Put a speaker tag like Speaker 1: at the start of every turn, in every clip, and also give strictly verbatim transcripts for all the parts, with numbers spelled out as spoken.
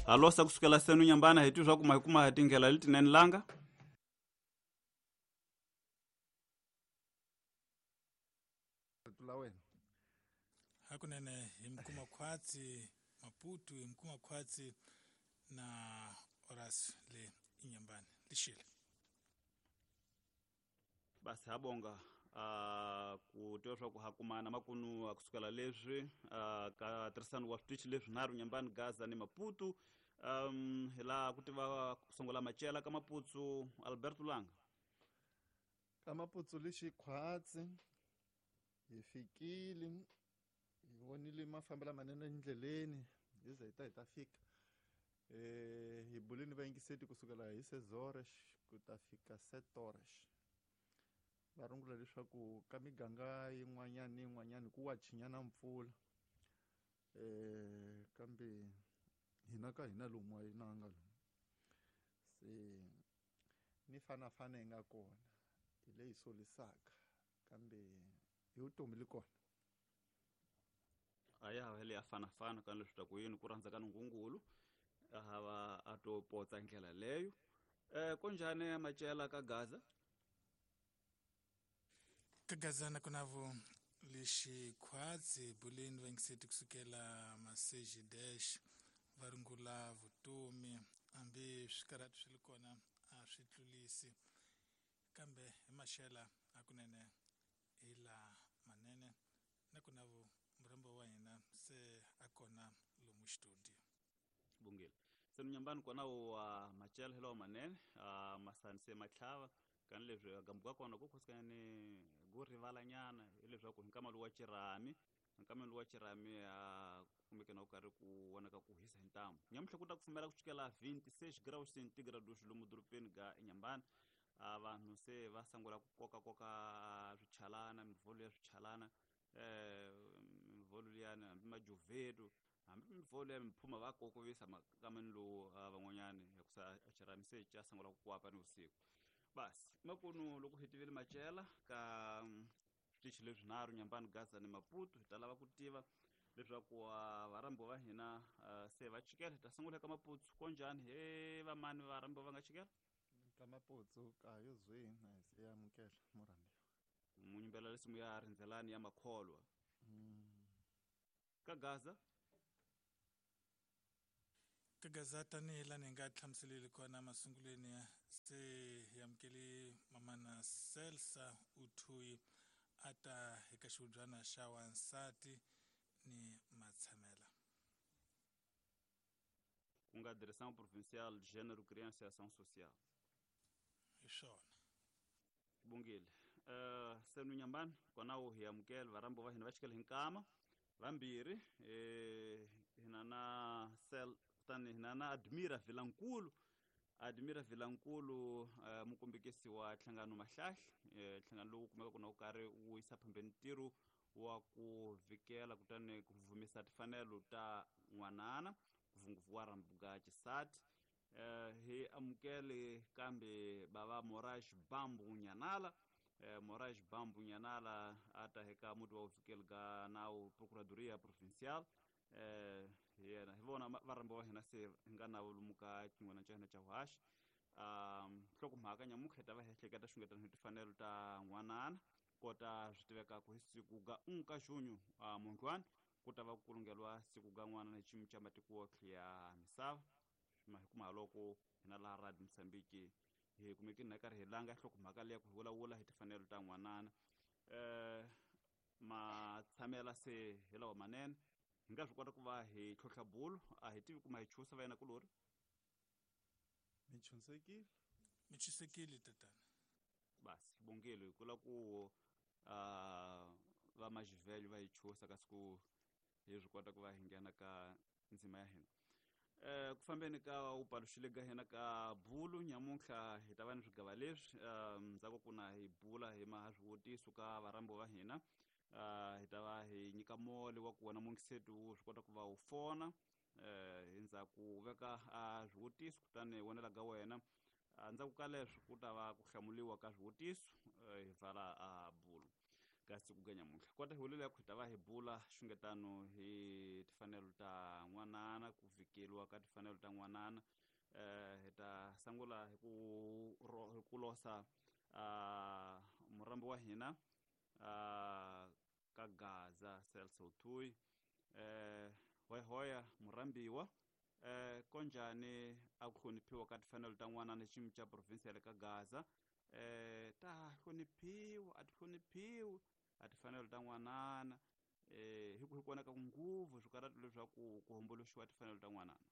Speaker 1: Alosa kusukela senu nyambana hi twi swa ku ma hi kuma hi tindlela letinene langa.
Speaker 2: Hakunene hi mkuma khwatsi Maputo, hi mkuma khwatsi na Horace le Inyambani lishile.
Speaker 1: Basi habonga uh, ku tiva swa ku hakumana makunu kusukela leswi uh, ka tirhisano wa switichi leswi nharhu Nyambani, Gaza ni Maputo. Um, hi laha ku tiva ku sungula Machela ka Maputo, Alberto Langa.
Speaker 3: Ka Maputo lexi khwatsi hi fikile, hi vonile mafambelo manene endleleni, hi ze hi ta hi ta fika. Eh, hi bulini vayingiseti kusukela hi sezores ku ta fika setores. Va rungula leswaku ka miganga yin'wanyana ni yin'wanyana ku wa chinyana mpfula. Eh, kambe hina ka hina lomu a yi nanga lomu. Se ni fanafana yi nga kona hi leyi solisaka, kambe hi vutomi li kona.
Speaker 1: A ya ha le ya fanafana ka leswi ta ku yini ku rhandza ka Nungungulu a hava a to potsa ndlela leyo. Eh, konjhani Machela ka Gaza?
Speaker 2: Ka Gaza na kunavo lexi khwatsi buleni vayingiseti kusukela Maseji dash va rungula vutomi, hambi swikarhati swi li kona a swi tlulisi, kambe hi maxela hakunene hi la manene. Na kunavo murhambo wa hina se a kona lomu studio.
Speaker 1: Bungile se Nyambani kona wa Machela hi lawa manene, uh, masani se matlhava kan leswi gambuka kona ku khosikanyani go rivalanyana hileswaku hi nkama lowu wa xirhami, nkama lowu wa xirhami a kumeke na ku karhi ku vonaka ku hisa hi ntamu. Nyamutlha ku ta kufumela ku chukela vinti-seis graus centigrados lomu dorobeni ga Enyambani. A vanhu se va sungula ku kokakoka swichalana, mivholo ya swichalana, eh, mivholo liyani hambi majuvetu, hambi mivholo ya miphuma va kokovisa makameni lowu van'wanyani hikusa xirhami se xa sungula ku kwapa ni vusiku. Basi makunu loko hi tivile Machela ka switichi leswi nharhu Nyambani, Gaza ni Maputo, hi ta lava ku tiva leswaku varhambiwa va hina se va chikela. Hi ta sungula eka Maputo. Konjhani he vamani varhambiwa va nga chikela?
Speaker 3: Ka Maputo ka yo zwi na hi se amukela murhambiwa.
Speaker 1: Munyimbela lesimu ya rindzelani ya makholwa.
Speaker 3: Mm.
Speaker 1: Ka Gaza?
Speaker 2: Ka Gaza tanihi laha ni nga hlamuseleli kona masungulweni se hi amukele mamana Selsa Uthuyi a ta eka xihubyana xa wansati ni matshamela.
Speaker 1: Ku nga Direção Provincial de Gênero, Criança e Ação Social.
Speaker 2: Hi swona.
Speaker 1: Bungile. Uh, senu Nyambani kona wu hi amukela varhambiwa va hina va chikela hi nkama vambirhi, eh, hina na Sel kutani hina na Admira Vilankulu. Admira Vilankulu, uh, mukombekisi wa Nhlangano Mahlahla, eh, nhlangano lowu kumekaka na wu karhi wu yisa phambeni ntirho wa ku vikela kutani ku vumisa timfanelo ta n'wanana, ngopfungopfu wa rhambuka xisati. Eh, hi amukele kambe bava Moraes Bambu Nyanala. Eh, Moraes Bambu Nyanala a ta eka muti wa vuvikeli ga nawu Procuradoria Provincial. Eh, hi yena hi vona varhambiwa va hina se hi nga na lomu ka xin'wana xa hina xa vuhaxi. Um, nhlokomhaka nyamuntlha hi ta va hi ehleketa xungetano hi timfanelo ta n'wanana, kota swi tivekaka hi siku ga un ka junho, uh, mundlwani ku ta va ku kulungeriwa siku ga n'wanana hi xiyimo xa matiko yotlhe ya misava. Ma hi kuma loko hina laha Radio Mozambique hi kumekini na karhi hi langa nhlokomhaka leyi ku hi vulavula hi timfanelo ta n'wanana. Eh, matshamela se hi lawa manene, hi nga swi kota ku va hi tlhontlha bulo, a hi tivi kuma hi chusa va yena kulori.
Speaker 3: Mi chunsekile?
Speaker 2: Mi chusekile tatana.
Speaker 1: Basi bongelo hi kula ku, uh, va Majivelho va hi chusa kasi ku hi swi kota ku va hi nghena ka ndzima ya hina. Eh, ku fambeni ka u paluxile ka hina ka bulu nyamuntlha hi ta va ni swigava leswi, eh, ndzhaku ku na hi bula hi maha swivutiso ka varhambiwa va hina. Eh, hi ta va hi nyika mole wa ku wena mungiseti wu swi kota ku va wu fona, eh, hi ndzhaku u veka a swivutiso kutani vonela ka wena. Ndzhaku ka leswi ku ta va ku hlamuliwa ka swivutiso, eh, hi pfala a bulu ka siku ga nyamuntlha. Kota hi hulela ku hi ta va hi bula xungetano hi timfanelo ta n'wanana, ku vhikela vekeliwa ka timfanelo ta n'wanana. Eh hi ta sungula hi ku hi ku losa uh, murambi wa hina uh, ka Gaza Celso Tui. Eh hoya murambiwa eh konjani a ku hloniphiwa ka timfanelo ta n'wanana xiyimo xa province ya le ka Gaza. Eh ta hloniphiwa a ti hloniphiwi a timfanelo ta n'wanana eh hi ku hi kona ka nguvu swikarhati leswaku ku homboloxiwa timfanelo ta n'wanana.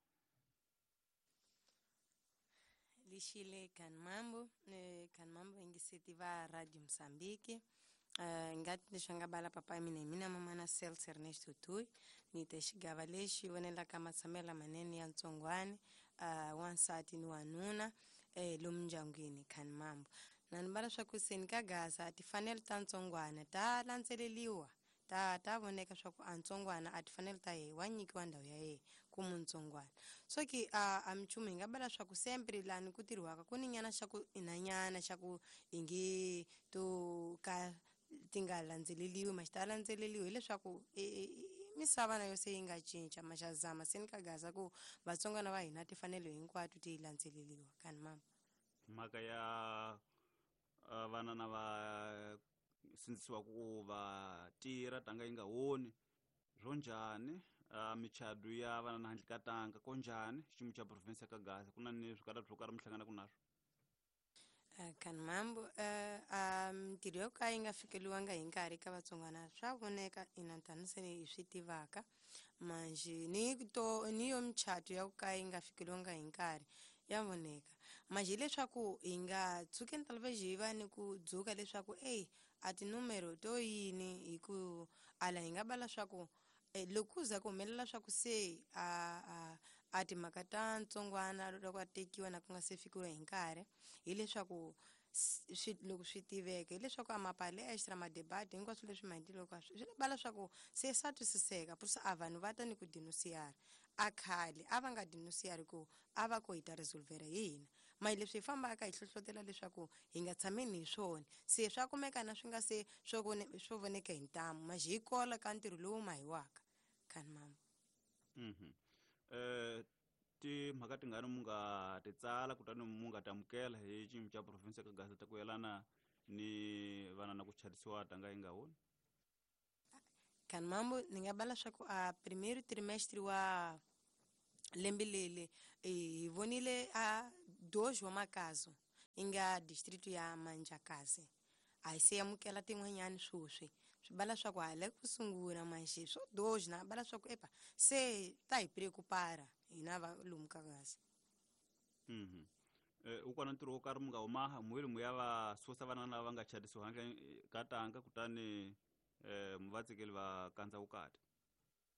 Speaker 4: Lixile kan mambo eh, kan mambo ingiseti va Radio Mozambique. Uh, ngati leswi nga bala papa mina hi mina mamana Celso Ernesto Tui ni te xigava lexi vonelaka matshamelo lamanene ya ntsongwani uh, wansati ni wanuna eh, lomu ndyangwini kan mambo na ni bala swa ku seni ka Gaza timfanelo ta ntsongwana ta landzeleriwa ta ta voneka swa ku a ntsongwana a timfanelo ta yehe wa nyikiwa ndhawu ya yehe ku muntsongwana. So ki a a minchumu hi nga bala swa ku sempre lani ku tirhiwaka ku ni nyana xa ku inanyana xa ku ingi to ka ti nga landzeleriwi ma xi ta landzeleriwi hileswaku misava na yo se yi nga cinca ma xa zama se ni ka Gaza ku vatsongwana va hina timfanelo hinkwato ti landzeleriwa kan mama.
Speaker 1: Mhaka ya vana na va sindzisiwa ku va tirha tanga yi nga honi swo njhani michado ya vana na handle ka tanga ko njhani xiyimo xa province ya ka Gaza ku na ni swikarhati swo karhi mi hlanganaka naswo?
Speaker 4: Uh, kan mambo uh, mintirho yo ka yi nga fikeliwanga hi nkarhi ka vatsongwana swa voneka ina tani se hi swi tivaka manjhe ni to ni yo michato ya ku ka yi nga fikeliwanga hi nkarhi ya voneka manjhe hileswaku hi nga tshukeni talvez hi va ni ku dzuka leswaku ey a tinumero to yini hi ku ala hi nga bala swa ku eh, loko ku za ku humelela swa ku se a a a timhaka ta ntsongwana loko a tekiwa na ku nga se fikiwa hi nkarhi hileswaku swi loko swi tiveka hileswaku a mapalestra madebate hinkwaswo leswi maendleloko swi bala swa ku se swa twisiseka purisa a vanhu va ta ni ku denunciara a khale a va nga denunciari ku a va ko hi ta resolvera hi hina ma leswi hi fambaka hi hlohlotela leswaku hi nga tshameni hi swona se swa kumeka na swi nga se swo swo voneka hi ntamu ma hi kola ka ntirho lowu mahiwaka kan mama.
Speaker 1: Mhm. Eh timhaka tingani mu nga ti tsala kutani mu nga tamukela hi xiyimo xa province ka Gaza ta ku yelana ni vana na ku chadisiwa tanga yi nga honi?
Speaker 4: Kan mambo ni nga bala swa ku a primeiro trimestre wa lembe leli hi vonile a dois wa makazo yi nga distrito ya Manjakazi a hi se amukela tin'wanyani swoswi swi bala swa ku hala ku sungula manjhe swo dois na bala swa ku epa se ta hi preocupara hina va lomu ka Gaza.
Speaker 1: Mhm. Eh u kona ntirho wo karhi mu nga humaha muheli mu ya va susa vana lava nga chadisiwa handle ka tanga kutani eh mu va tsikeli va kandza vukati?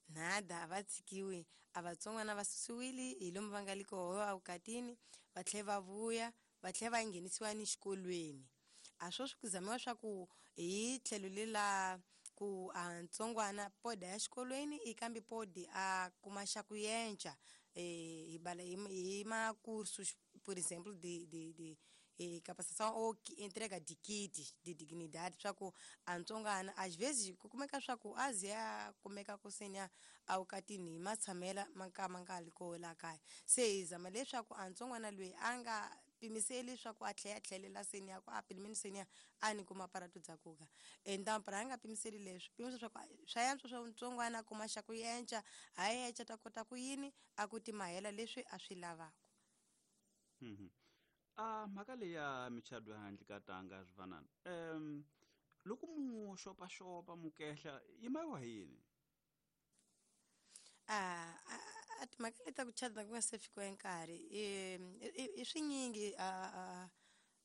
Speaker 4: Nada, a va tshikiwi a vatsongwana va susiwile hi lomu va nga le koho evukatini va tlhela va vuya va tlhela va nghenisiwa ni xikolweni. A swo swi ku zamiwa swa ku hi tlhelo lela ku a ntsongwana poda ya xikolweni i kambe podi a kuma xa ku yenca eh hi bala hi ma cursos por exemplo de de de eh, capacitação ou entrega de kits de dignidade swa ku a ntsongwana às vezes ku kumeka swa ku a ze a kumeka ku senya awukatini hi matshamela ma ka ma nga li koho la kaya se hi zama leswaku a ntsongwana loyi a nga pimiseli swa ku a tlhela a tlhelela seni ya ku a pelo menos seni ya a ni kuma aparato dza kuka então para a nga pimiseli leswi pimisa swa ku swa yantswa swa ntsongwana a kuma xa ku yenca ha yenca ta kota ku yini a ku timahela leswi a swi lavaka.
Speaker 1: Mhm. A mhaka leyi ya michado handle ka tanga swi fanana um loko mu xopaxopa mukehla yi mayiwa hi yini?
Speaker 4: A a timhaka leti ta ku chada ku nga se fikiwa hi nkarhi i swinyingi a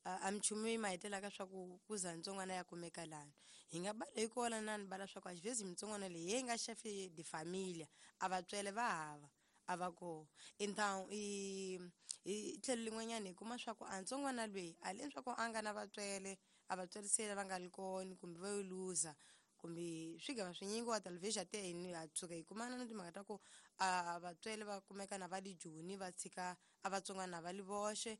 Speaker 4: a minchumu yi ma hetelaka swa ku ku za ntsongwana ya kumeka lani hi nga bala hi kola na ni bala swa ku às vezes mitsongwana leyi yi nga chefe de família a vatswele va hava a va koho então i hi tlhelo lin'wanyana hi kuma swa ku a ntsongwana loyi a le swa ku a nga na vatswele a vatswele se va nga li kona kumbe va yo luza kumbe swigava swinyingi wa talvez te hi ha tshuka hi kumana na timhaka ta ku a vatswele va kumeka na va le Joni va tshika a vatsongwana va li voxe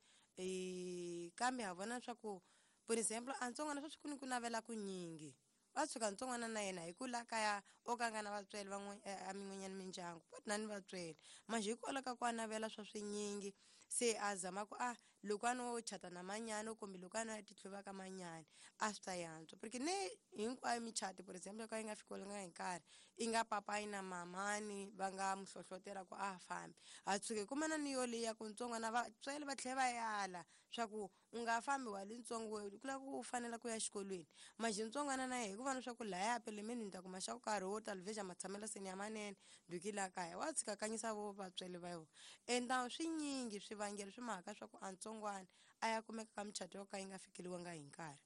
Speaker 4: kambe ha vona swa ku por exemplo a ntsongwana sweswi ku ni ku navela ku nyingi Va tshuka ntsongwana na yena hi ku la kaya o ka nga na vatswele van'we a min'wanyana mindyangu pot na ni vatswele manje hikwalaho ka ku a navela swa swinyingi se a zama ku a loko a no chata na manyana kumbe loko a no ya tihluva ka manyana a swi ta yantswa porque ne hinkwayo michato for example ka yi nga fikelelanga hi nkarhi i nga papayi na mamani va nga mu hlohlotela ku a fambi a tshuke kumana ni yo leyi ya ku ntsongwana vatswele va tlhela va yala swa ku u nga fambi wa le ntsongo ku lava ku u fanela ku ya xikolweni manje ntsongwana na yehe hikuva na swa ku laya pelemeni ni ta kuma xa ku karhi wo talveja matshamelo seni ya manene duki la kaya wa tshika kanyisa vo vatswele va yona enda swinyingi swivangelo swi mhaka swa ku a ntsongwana a ya kumeka ka michato yo ka yi nga fikeliwanga hi nkarhi.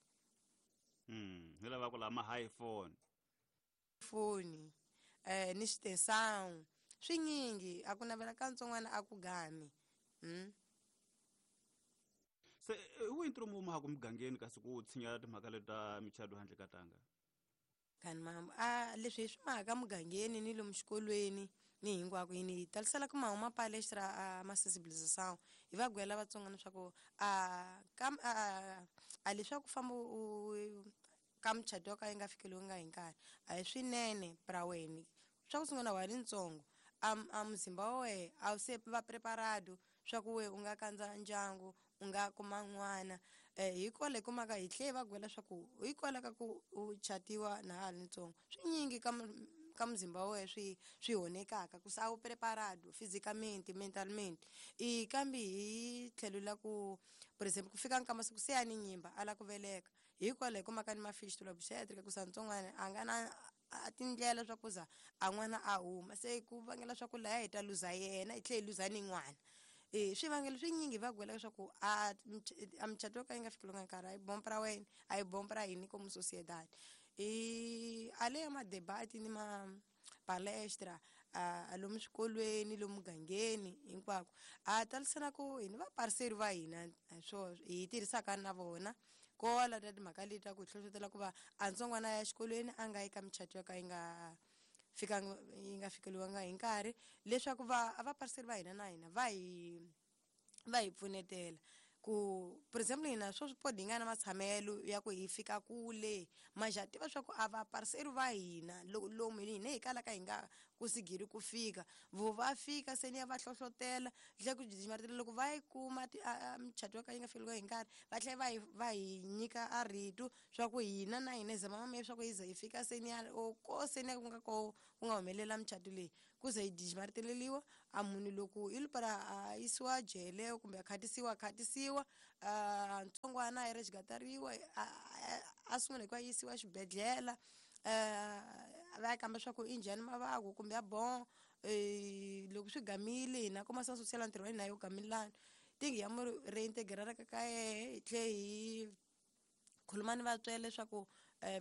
Speaker 1: Mm, hi lava ku lama high phone
Speaker 4: foni eh ni xitensão swinyingi a ku navela ka ntsongwana a ku gami. Mm.
Speaker 1: Se wu ntirho mu ma ku mugangeni kasi ku tshinya timhaka leti ta michato handle ka tanga
Speaker 4: kani mama a leswi hi swi mhaka mugangeni ni lomu xikolweni ni hinkwako yini hi talisela ku mahuma palestra a ma sensibilização hi va gwela vatsonga leswaku a ka a a leswaku famba u ka muchato ka yi nga fikeliwanga hi nkarhi a hi swinene pra wena swa ku sungula wa ri ntsongo a a muzimba wa wehe a wu se va preparado swa ku we u nga kandza ndyangu u nga kuma n'wana eh hikwalaho kumaka hi tlhe va gwela swa ku hikwalaho ka ku u chatiwa na ha ri ntsongo swinyingi ka ka muzimba wa wehe swi swi honekaka ku se a wu preparado physicamente mentalmente i kambe hi tlhelo la ku for example ku fika nka masiku se ya ni nyimba a la ku veleka hikwalaho kumaka ni mafistula obstetric ku sa ntsongwana a nga na a tindlela swa ku za a n'wana a huma se ku vangela swa ku laya hi ta luza yena hi tlhe hi luza ni n'wana. Eh swivangelo swinyingi va gwela leswaku a a michato yo ka yi nga fikelelanga nkarhi a yi bompa ra wena a yi bompa ra hini como sociedade i a le ya madebati ni ma palestra a lomu swikolweni lomu mugangeni hinkwako a talisana ku hini vapariseri va hina swo hi tirhisaka na vona kola ta timhaka leti ta ku hi hlohlotela ku va a ntsongwana ya xikolweni a nga yi ka michato yo ka yi nga fika yi nga fikeliwanga hi nkarhi leswaku va a vapariseri va hina na hina va hi va hi pfunetela ku for example hina swo swipodi hi nga na matshamelo ya ku hi fika kule manje ha tiva swa ku a vapariseri va hina lomu hina hi kalaka hi nga kusigiri ku fika vo va fika se ni ya va hlohlotela tlhe ku jijimaritela loko va yi kuma michato yo ka yi nga fikeliwa hi nkarhi va tlhela va hi va hi nyika a rito swa ku hina na hina hi zama mame swa ku hi ze hi fika se ni ya ko se ni ya ku nga ko ku nga humelela michato leyi ku ze hi jijimariteleliwa a munhu loko i lupara a yisiwa jele kumbe a khatisiwa a khatisiwa a ntsongwana a yi resgatariwa a sungula hi ku a yisiwa xibedhlele va ya kamba swa ku i njhani mavabyi kumbe ya bon loko swi gamile hina kuma sa social ntirho wa hina yo gamilana tingi ya mu reintegrara ka ka yehe hi tlhe hi khuluma ni vatswele leswaku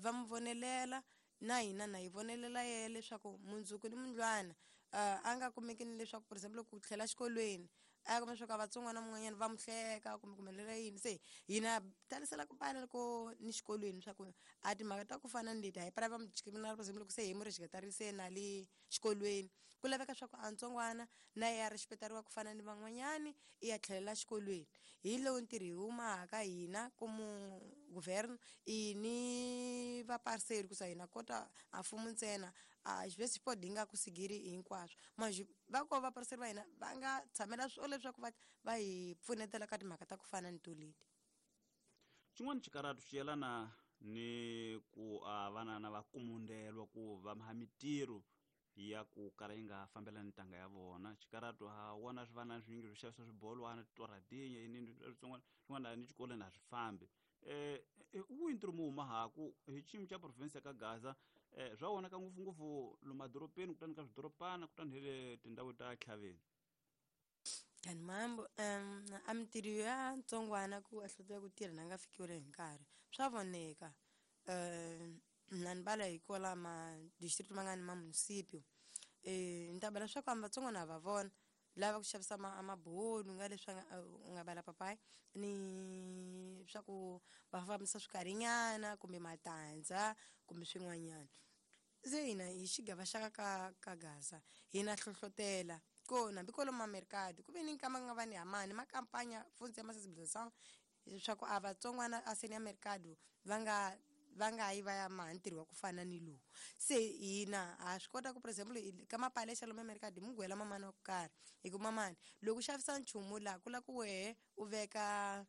Speaker 4: va mu vonelela na hina na hi vonelela yehe leswaku mundzuku ni mundlwana a nga kumeki ni leswaku for example ku tlhela xikolweni a kuma leswaku a vatsongwana mun'wanyana va mu hleka kumbe ku humelela yini se hina talisela ku bana loko ni xikolweni swa ku a timhaka ta ku fana ni leti a hi para va mu discriminara for example loko se hi mu rexiketarise na le xikolweni ku laveka swa ku a ntsongwana na ye a rexipetariwa ku fana ni van'wanyani i ya tlhelela xikolweni hi lowu ntirho hi humaka hina komu governo i ni vapariseri ku sa hina kota a mfumo ntsena a xivese xipodi hi nga kusigiri hinkwaswo manje va ko vapariseri va hina va nga tshamela swo leswaku va va hi pfunetela ka timhaka ta ku fana ni toleti.
Speaker 1: Xin'wana xikaratu xi yelana ni ku a vana va kumundelwa ku va maha mitirho ya ku kala yi nga fambelani ntanga ya vona xikaratu ha wona swivana swinyingi swo xavisa swibolwana titoradinya yini swin'wana swin'wana ni xikolweni a swi fambi eh wu ntirho mu huma haku hi xiyimo xa province ya ka Gaza eh swa vonaka ngopfungopfu lomu madorobeni kutani ka swidorobana kutani hi le tindhawu ta tlhaveni.
Speaker 4: Kani mambo um a mitirho ya ntsongwana ku a hlotela ku tirha na nga fikiwile hi nkarhi swa voneka um na ni bala hi kwala ma district ma nga ni ma municipio eh ni ta bala swa ku amba vatsongwana va vona lava ku xavisa ma mabulu nga leswi u nga bala papayi ni swa ku va fambisa swikarinyana kumbe matandza kumbe swin'wanyana se hina hi xigava xa ka ka Gaza hina hlohlotela ko nambi kwalomu ma-mercado ku ve ni nkama nga va ni hamani ma kampanya funtsi ya ma sensibilisation leswaku a vatsongwana a seni ya mercado va nga va nga yi va ya maha ntirho wa ku fana ni lowu. Se hina ha swi kota ku, for example, ka mapalexa lomu emerikadi hi mugwela mamani wa ku karhi, hi ku mamani loko u xavisa nchumu laha ku la ku wehe u veka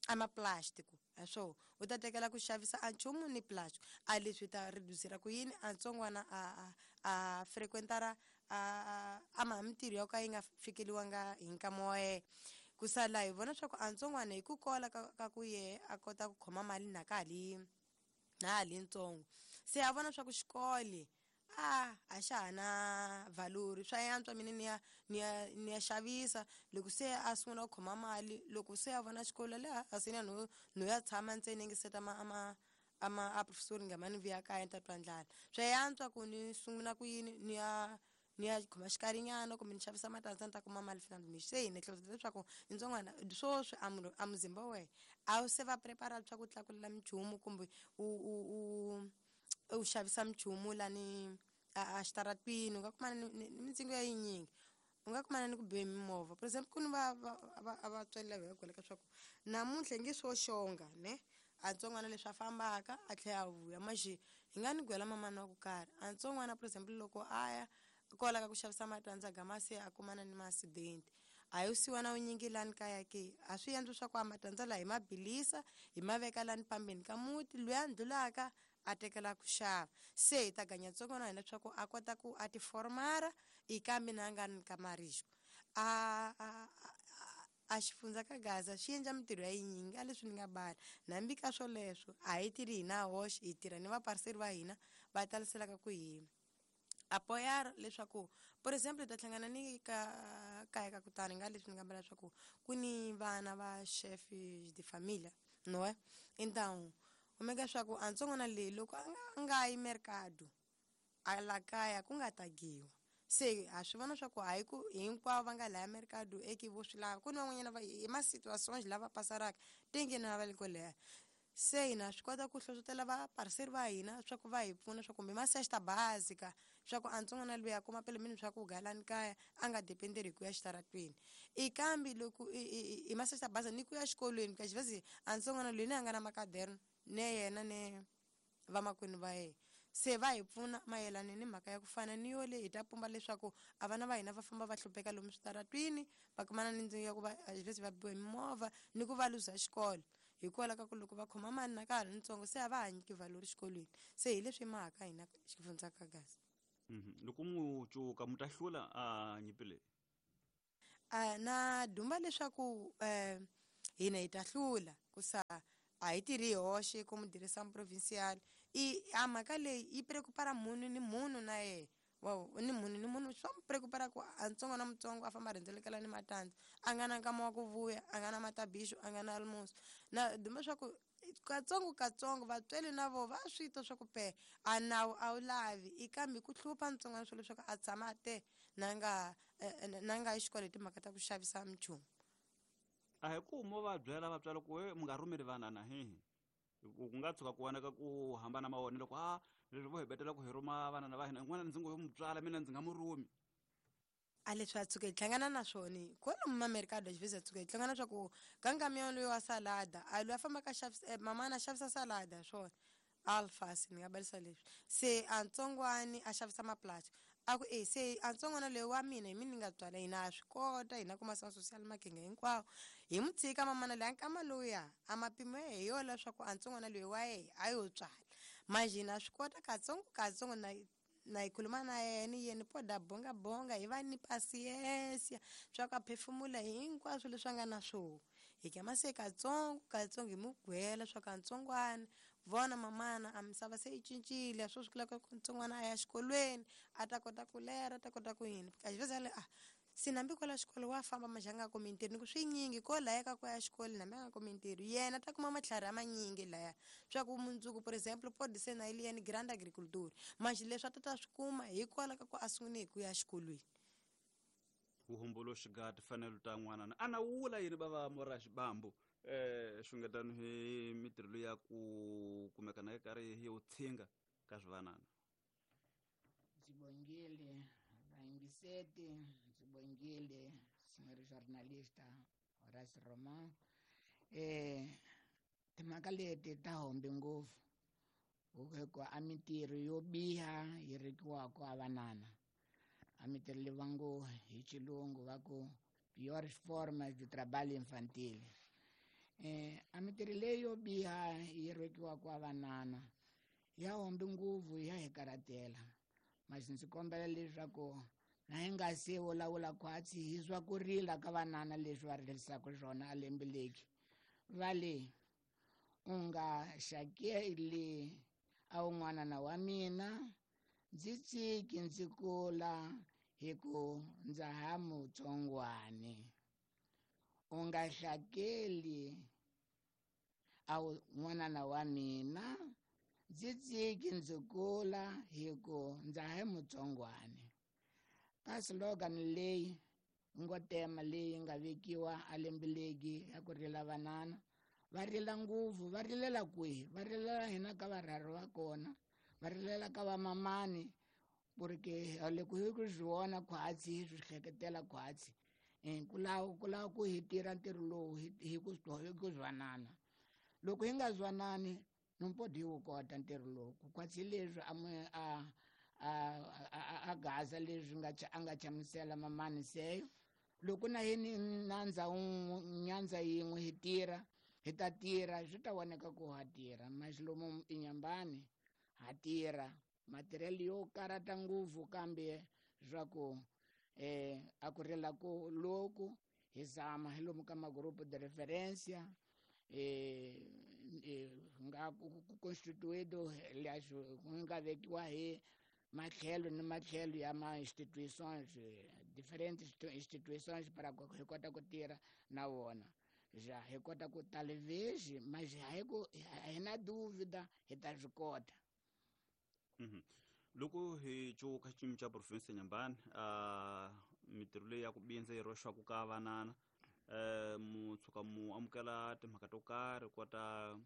Speaker 4: a maplastic a swo u ta tekela ku xavisa a nchumu ni plastic a leswi ta reducera ku yini a ntsongwana a a a frequentara a a maha mintirho ya ka yi nga fikeliwanga hi nkama wa yena. Ku sala hi vona swa ku a ntsongwana hi ku kola ka, ka ku yehe a kota ku khoma mali na ka ha li na ha li ntsongo, se a vona swa ku xikolo a a xa ha na valori, swa yantswa mina ni ya ni ya ni ya xavisa. Loko se a sungula ku khoma mali, loko se a vona xikolo le a se ni ya no no ya tshama ntsena ngi seta ma ama ama a professor nga mani vuya kaya ni ta twa ndlala, swa yantswa ku ni sungula ku yini ni ya ni ya khoma xikarinyana kumbe ni xavisa matandza ni ta kuma mali fana. Se hi ni hleketa leswaku ntsongwana swoswi a munhu a muzimba wa wena a wu se va prepara swa ku tlakulela minchumu kumbe u u u u xavisa minchumu lani a a xitaratwini, u nga kumana ni ni mintsengo ya yinyingi, u nga kumana ni ku biwe mimovha. For example, ku ni va va va a vatswari lava hi va swa ku namuntlha nge swo xonga ne a ntsongwana leswi a fambaka a tlhela a vuya maxi hi nga ni gwela mamani wa ku karhi a ntsongwana. For example, loko a ya kwala ka ku xavisa matandza gama se a kumana ni ma-accident, a yo siwa na wunyingi lani kaya ke a swi endli swa ku a matandza laha hi ma bilisa hi ma veka lani pambeni ka muti, loyi a ndlulaka a tekela ku xava. Se hi ta ganya ntsongwana hina leswaku a kota ku a ti formara i kambe na nga ni ka marixo a a a xifundza ka Gaza xi endla mintirho ya yinyingi a leswi ni nga bala. Hambi ka swoleswo a hi tirhi hina hoxe, hi tirha ni vapariseri va hina va taliselaka ku hi apoyar leswaku, for example, hi ta hlangana ni ka kaya ka kutani nga leswi ni nga bala leswaku ku ni vana va chef de família, não é? Então kumeka swa ku a ntsongwana leyi loko a nga yi mercado a la kaya ku nga tagiwa, se ha swi vona swa ku hayi ku hinkwavo va nga laya mercado eki vo swi lava, ku ni van'wanyana va hi ma-situations lava pasaraka tenge na va le ko leha. Se hina swi kota ku hlohlotela vapariseri va hina swa ku va hi pfuna swa kumbe ma-cesta básica swa ku a ntsongwana loyi a kuma pele mini swa ku galani kaya a nga dependeri hi ku ya xitaratweni. I kambe loko i ma-cesta básica ni ku ya xikolweni ka xivezi a ntsongwana loyi ni a nga na makaderno ne yena ne vamakwenu va yena, se va hi pfuna mayelana ni mhaka ya ku fana ni yo leyi hi ta pumba leswaku a vana va hina va famba va hlupheka lomu switaratwini, va kumana ni ndzingo ya ku va xivezi va biwa hi mimovha ni ku va luza xikolo hikwalaho ka ku loko va khoma mali na ka ha ri ntsongo se a va ha nyiki valori xikolweni. Se hi leswi mahaka hina xifundza ka Gaza.
Speaker 1: Loko mu cuka mu ta hlula a nyimpi leyi?
Speaker 4: A na dumba leswaku um hina hi ta hlula ku sa a hi tirhi hi hoxe ku mudirisa provincial i a mhaka leyi yi preocupara munhu ni munhu na yena wa ni munhu ni munhu swa mu preocupara ku a ntsongo na mutsongo a famba a rhendzelekela ni matandza a nga na nkama wa ku vuya, a nga na matabixo, a nga na almoço. Na dumba swa ku katsongo katsongo vatswari na vo va swi twa swa ku pe a nawu a wu lavi i kambe ku hlupha ntsongwana swo leswaku a tshama a te na nga na nga yi xikolo hi timhaka ta ku xavisa minchumu.
Speaker 1: A hi ku mo va byela vatswari ku we mi nga rhumeli vanana hihi ku nga tshuka ku vonaka ku hambana mavonelo ku a leswi vo hi betela ku hi rhuma vanana va hina n'wana ndzi ngo yo mu tswala mina ndzi nga mu rhumi.
Speaker 4: A leswi a tshuka hi hlangana na swona kwalomu mamerikado xivezi a tshuka hi hlangana swa ku ka nkamiyo loyi wa salada a loyi a fambaka xavisa mamana a xavisa salada swona alfasi ni nga balisa leswi se a ntsongwani a xavisa maplastic a ku e se a ntsongwana loyi wa mina hi mina ni nga tswala hina ha swi kota hina kuma sa social makenge hinkwawo hi mu tshika mamana loyi a nkama lowuya a mapimo ya hi yo leswaku a ntsongwana loyi wa yehe a yo tswala manje hina swi kota katsongo katsongo na na hi khuluma na yena yena poda bonga bonga hi va ni pasiensia swa ku a phefumula hinkwaswo leswi a nga na swona hi kama se katsongo katsongo hi mu gwela swa ku a ntsongwana vona mamana a misava se yi cincile swo swi kula ku ntsongwana a ya xikolweni a ta kota ku lera a ta kota ku yini kaxiveza le a se nambi kwala xikolo wa famba manjhe a nga kumi ntirho ni ku swinyingi ko laya ka ku ya xikolo nambi a nga kumi ntirho yena ta kuma matlhari a manyingi laya swa ku mundzuku, por exemple, pode ser na ele yena grande agriculture manjhe leswi a ta ta swi kuma hikwalaho ka ku a sungule hi ku ya xikolweni.
Speaker 1: Vuhumbuluxi ga timfanelo ta n'wana a na wula yini va va mora xibambu eh xungetano hi mitirho ya ku kumeka na karhi hi utshinga ka swivanana.
Speaker 5: Ndzi bongile vayingiseti, ndzi bongile senhor jornalista Horace Roman. Eh timhaka leti ta hombe ngopfu. Ku a mintirho yo biha yi rekiwaka a vanana. A mintirho leyi va ngo hi xilungu va ku piores formas de trabalho infantil. Eh, a mintirho leyi yo biha yi rekiwaka a vanana ya hombi nguvu ya hi karhatela. Mas ndzi kombela leswaku na hi nga se vulavula khwatsi hi swa ku rila ka vanana leswi va rilisaka swona a lembe leki. Va le u nga xakeli a wun'wanana wa mina ndzi tshiki ndzi kula hi ku ndza ha mutsongwani. U nga hlakeli a wun'wanana wa mina ndzi tshiki ndzi kula hi ku ndza ha mutsongwani. Ka slogan leyi ngo tema leyi nga vekiwa a lembe leki ya ku rila vanana va rila ngopfu, va rilela kwihi? Va rilela hina ka varharhu va kona, va rilela ka vamamani, porque loko hi ku swi vona khwatsi hi swi hleketela khwatsi. Ku lava ku lava ku hi tirha ntirho lowu hi ku hi ku zwanana. Loko hi nga zwanani no pode hi wu kota ntirho lowu. Ku khwatsi leswi a a a a gaza leswi nga a nga chamusela mamani seyo. Loko na hi nandza nyandza yin'we hi tirha, hi ta tirha swi ta voneka ku ha tirha. Mas lomu Inhambane ha tirha matirhelo yo karata ngopfu, kambe swa ku eh a ku rila ku loku hi zama hi lomu ka magrupo de referência eh nga constituído ku nga vekiwa hi matlhelo ni matlhelo ya ma instituições diferentes instituições para hi kota ku tirha na vona. Já hi kota ku talvez, mas hi ku hi na dúvida hi ta swi kota.
Speaker 1: Loko hi cuka xiyimo xa province ya Inhambane, uh, mintirho leyi ya ku bindza yi roxaka ka vanana, uh, mu tshuka mu amukela timhaka to karhi kota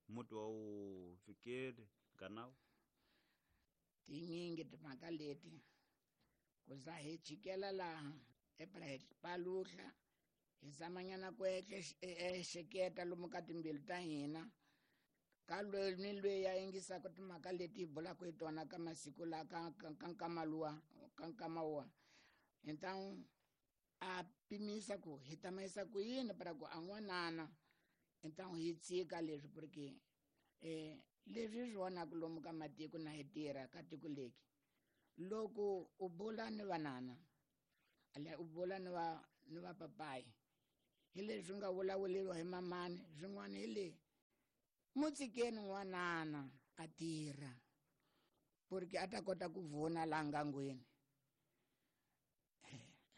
Speaker 1: muti wa wu fikeli ganawu?
Speaker 5: Tinyingi timhaka leti ku za hi chikela laha epra hi paluhla hi zamanyana ku ehleketa lomu ka timbilu ta hina ka loyi ni loyi ya yingisaka timhaka leti hi bulaka hi tona ka masiku la ka ka nkama luwa ka nkama wa. Então a pimisa ku hi ta mayisa ku yini para ku a n'wanana. Então hi tshika leswi porque eh leswi swi vonaka lomu ka matiko na hi tirha ka tiko leki. Loko u bula ni vanana u bula ni va ni va papayi hi leswi nga vulavuleriwa hi mamani swin'wana hi le mutshikeni n'wanana a tirha porque a ta kota ku vona laha ngangweni.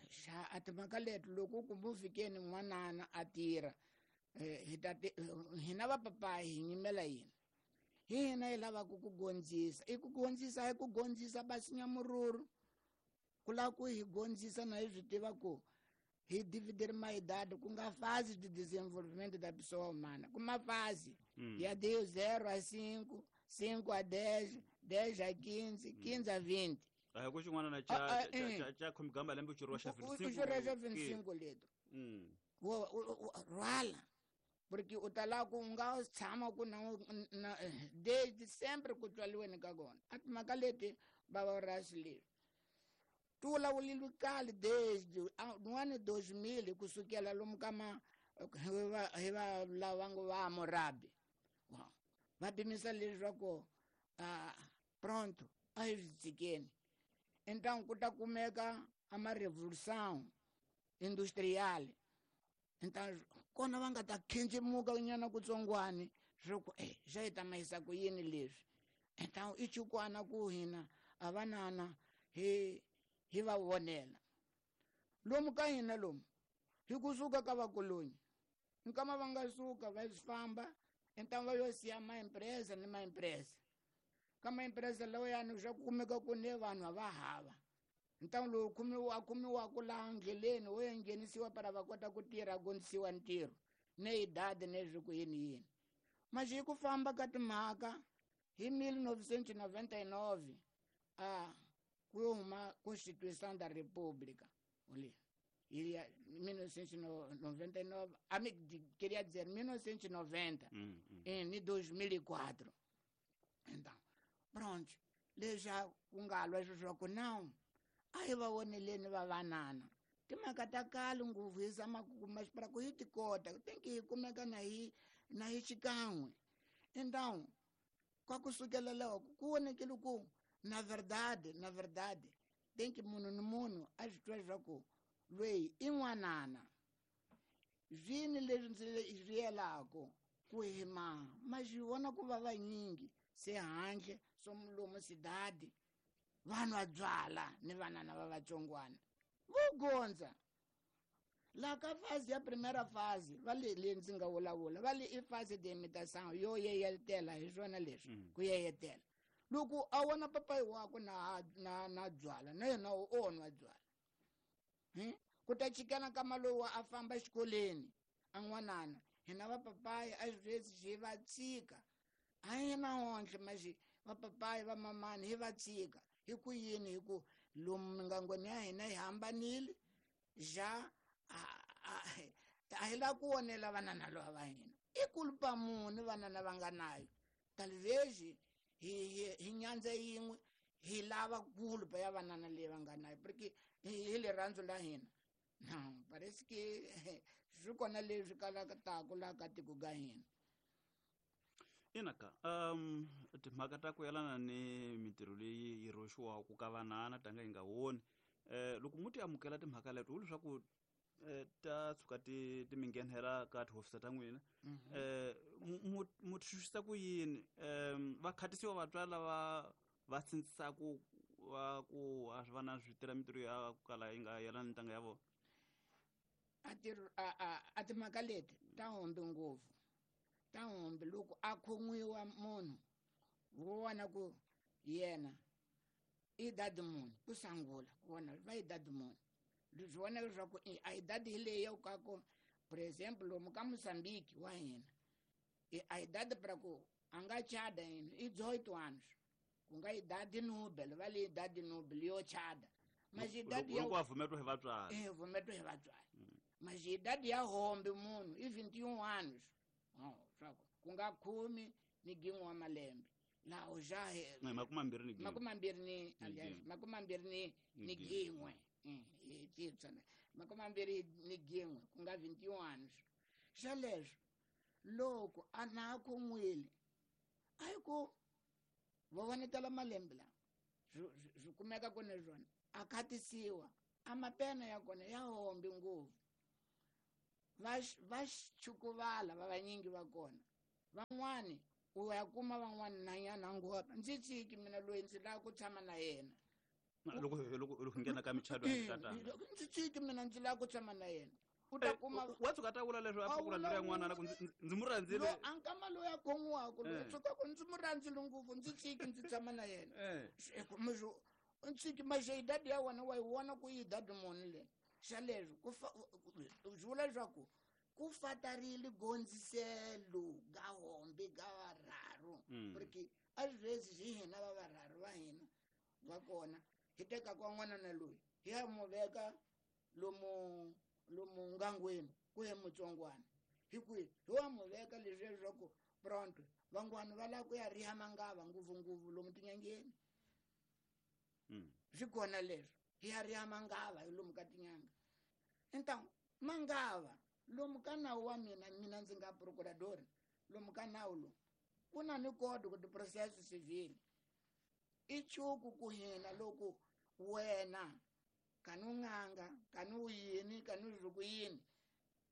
Speaker 5: Xa a timhaka leti loko ku mu fikeni n'wanana a tirha hi ta hina va papayi hi nyimela yini? Hi hina hi lavaka ku gondzisa. I ku gondzisa hi ku gondzisa basinya mururu. Ku lava ku hi gondzisa na hi swi tiva ku hi dividir ma idade ku nga fase de desenvolvimento da pessoa humana, ku ma fase ya de zero a cinco, cinco a dez, dez a quinze, quinze a vinte.
Speaker 1: A ku xin'wana na cha cha cha khomigamba lembe u xirho xa
Speaker 5: vinte e cinco leto. Wo rwala porque u ta lava ku nga tshama ku na desde sempre ku tswaliweni ka kona. A timhaka leti bava rasi leswi ti vulavulile kale desde n'wana dois mil kusukela lomu ka ma hi va lava ngo va Hammurabi. Va pimisa leswaku pronto a hi swi tshikeni. Então ku ta kumeka a ma revolução industrial. Então kona va nga ta khencemuka nyana kutsongwani swa ku eh xa hi ta mayisa ku yini leswi. Então i chukwana ku hina a vanana hi hi va vonela lomu ka hina lomu hi kusuka ka vakolonyi nkama va nga suka va famba então va yo siya ma empresa ni ma empresa ka ma empresa lawa yani swa kumeka ku ne vanhu va hava. Então lowu khumiwa khumiwaka laha ndleleni wo ya nghenisiwa para va kota ku tirha gondzisiwa ntirho ne idade ne swi ku yini yini. Mas hi ku famba ka timhaka hi mil novecentos e noventa e nove a ku yo huma Constituição da República oli mil novecentos e noventa e nove, a me, queria dizer mil novecentos e noventa, mm, mm. em dois mil e quatro. Então, Pronto leswi ku nga lwa leswaku não a hi va voneleni va vanana timhaka ta kale ngopfu hi zama ku kuma para ku hi ti kota tem que hi kumeka na hi na hi xikan'we. Então kwa kusukela loko ku vonekile ku na verdade na verdade tem que munhu ni munhu a swi twa leswaku loyi i n'wanana zwini leswi ndzi swi yelako ku hi ma ma swi vona ku va vanyingi se handle swo lomu sidadi vanhu va byala ni vanana va vatsongwana vo gondza la ka fase ya primeira fase va le le ndzi nga vulavula va le i fase de imitação yo yeyetela hi swona leswi ku yeyetela loko a vona papayi wakwe na na na byala na yena o nwa byala hmm? Ku ta chikana ka malowu a famba exikolweni a n'wanana hina vapapayi a sweswi hi va tshika a hi na onhle maxi vapapayi va mamani hi va tshika hi ku yini hi ku lomu mingangweni ya hina hi hambanile ja a hi lava ku onela vanana lava va hina i kulupa muni vanana va nga nayo talvez hi hi hi nyandza yin'we hi lava kulupa ya vanana leyi va nga nayo porque hi rirhandzu la hina. Não, parece que swi kona leswi kalaka taku laha ka tiko ka hina.
Speaker 1: Ina ka um timhaka ta ku yelana ni mintirho leyi yi rhoxiwaka ka vanana tanga yi nga woni eh loko mu ti amukela timhaka leto wu leswaku ta tshuka ti ti mi nghenela ka tihofisa ta n'wina eh mu mu twisisa ku yini um va khatisiwa vatswari lava va sindzisaku va ku a swi vana swi tirha mintirho ya ku kala yi nga yelani ntanga ya vona?
Speaker 5: A ti a a a timhaka leti ta hombi ngopfu ta hombi loko a khomiwa munhu wo vona ku yena i dadi munhu ku sangula ku vona va i dadi munhu leswi vona leswaku a idade hi leyi ya ka ku por exemplo lomu ka Moçambique wa hina a idade para ku a nga chada yini i dezoito anos ku nga idade nobel va le idade nobel yo chada mas idade
Speaker 1: ya loko a vumetwa hi vatswari
Speaker 5: eh vumetwa hi vatswari mas idade ya hombe munhu i vinte e um anos oh swa ku nga khume ni gin'we wa malembe laho ja
Speaker 1: makume mambirhi ni gin'we
Speaker 5: makume mambirhi ni aliás makume mambirhi ni ni gin'we hi titsana makume mambirhi ni gin'we ku nga vinte e um anos xa leswo loko a na khon'wile a hi ku va vonetela malembe lawa swi kumeka ku ni swona a khatisiwa a mapena ya kona ya hombi ngopfu va va chukuvala va vanyingi va kona van'wani u ya kuma van'wani nanyana ngopfu ndzi tshiki mina loyi ndzi lava ku tshama na yena
Speaker 1: loko loko loko nghena ka michato ya tatana
Speaker 5: ndzi tshiki mina ndzi lava ku tshama na yena u ta kuma
Speaker 1: wa tshuka ta vula leswi a pfukula ndlela n'wana na ku ndzi mu rhandzile
Speaker 5: lo a nkama loyi a khon'waka loyi tshuka ku ndzi mu rhandzile ngopfu ndzi tshiki ndzi tshama na yena ndzi tshiki maxe idadi ya wena wa yi vona ku i idadi muni le xa leswi ku swi vula leswaku ku fatarile gondziselo ga hombi ga varharu porque a sweswi hi hina va varharu va hina va kona hi teka kwa n'wana na loyi hi ya mu veka lomu lomu ngangweni ku ye mutsongwana hi kwihi hi wa mu veka leswi leswaku pronto van'wana va lava ku ya riha mangava ngopfungopfu lomu tinyangeni swi kona leswo hi ya riha mangava hi lomu ka tinyanga então mangava lomu ka nawu wa mina mina ndzi nga procurador lomu ka nawu lowu ku na ni código de processo civil i chuku ku hina loko wena kani u n'anga kani u yini kani u ku yini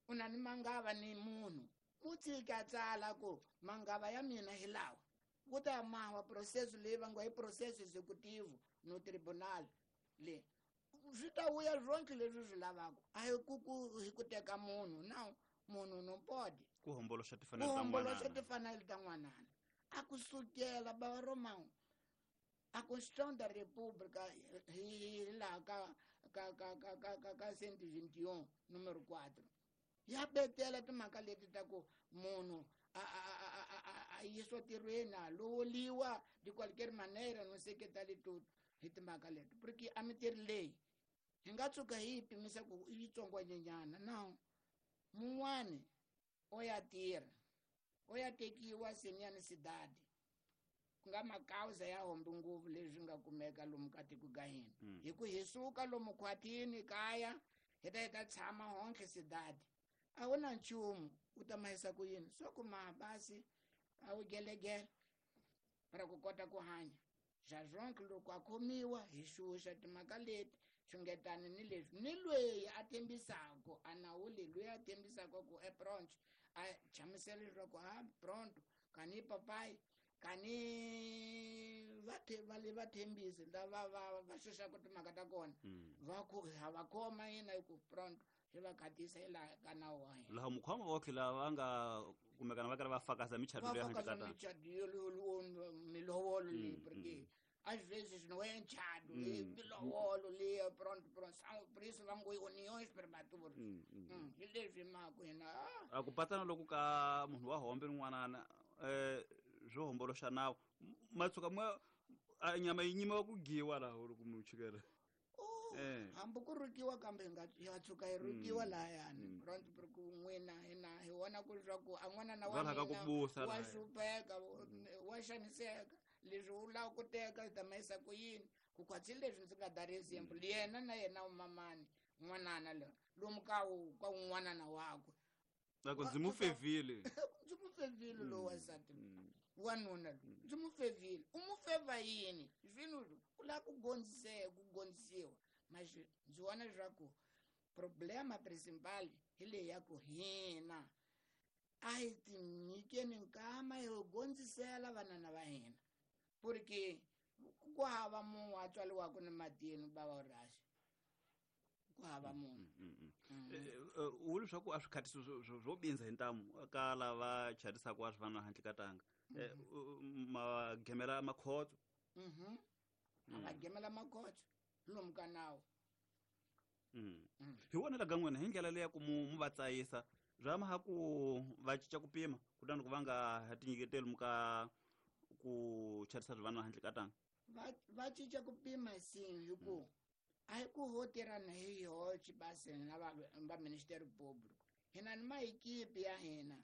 Speaker 5: u na ni mangava ni munhu u tshika tsala ku mangava ya mina hi lawa ku ta mawa processo leyi va ngo i processo executivo no tribunal le swi ta vuya swonke leswi swi lavaka a hi ku ku hi ku teka munhu na munhu no pode
Speaker 1: ku homboloxa timfanelo ta
Speaker 5: homboloxa timfanelo ta n'wanana a ku sukela bava Romão a Constituição da República hi laha ka ka ka ka ka ka ka cento e vinte e um número quatro ya betela timhaka leti ta ku munhu a a a a a yisiwa tirhweni a lovoliwa de qualquer maneira não sei que tal e tudo hi timhaka leti porque a mintirho leyi hi nga tshuka hi yi pimisa ku i yitsongwanyenyana no mun'wani o ya tirha o ya tekiwa seniyani sidadi ku nga makauza ya hombe ngopfu leswi nga kumeka lomu ka tiko ka hina. Hi ku hi suka lomu khwatini kaya hi ta hi ta tshama honke cidade. A wu na nchumu u ta mahisa ku yini so ku mabasi a wu gelegele para ku kota ku hanya. Xa zonke loko a khomiwa hi xuxa timhaka leti xungetani ni leswi ni lweyi a tembisako a nawu leyi loyi a tembisaka ku e pronto a chamusela leswaku a pronto kani papai kani va va le va thembisi lava va va xuxaka timhaka ta kona va ku ha va khoma yina hi ku pronto hi va khatisa hi laha ka nawu wa hina.
Speaker 1: Laha mukhoma wa tlhela va nga kumekana va karhi va fakaza michato leyi handle ka tana
Speaker 5: michato yo milovolo leyi porque às vezes não é enxado, milovolo leyi pronto pronto são por isso vamos uniões prematuras. Hi leswi mhaka hina
Speaker 1: a ku patsana loko ka munhu wa hombe rin'wanana eh swo homboloxa nawu matsuka mwa nyama yi nyimiwa ku giwa laha loko mu chikela.
Speaker 5: Hambi ku rukiwa kambe hi nga ya tshuka hi rukiwa lahayani pronto porque n'wina hina hi vona ku leswaku a n'wanana wa mina wa hlupheka wa xaniseka leswi u lava ku teka hi ta mahisa ku yini ku khwatsi leswi ndzi nga dari example yena na yena mamani n'wanana loyi lomu ka ka un'wanana wakwe
Speaker 1: loko ndzi mu fevile
Speaker 5: ndzi mu fevile lowu wansati wanuna loyi ndzi mu fevile u mu feva yini swilo ku lava ku gondziseka ku gondzisiwa mas ndzi vona leswaku problema principal hi leyi ya ku hina a hi tinyikeni nkama hi gondzisela vanana va hina porque ku hava munhu a tswariwaka ni matini bava rhaxi ku hava munhu.
Speaker 1: U leswaku a swi khatisi swo bindza hi ntamu ka lava charisaka a swi vana handle ka tanga ma gemela makhotso
Speaker 5: a va gemela makhotso lomu ka nawu.
Speaker 1: Hi vonela ka n'wina hi ndlela leyi ya ku mu va tsayisa bya maha ku va cinca ku pima kutani ku va nga ha tinyiketeli mu ka ku charisa swi vana handle ka tanga
Speaker 5: va va cinca ku pima sim hi ku a hi ku ho tirhana hi yoxe basi na va va Ministério Público hina ni maekipe ya hina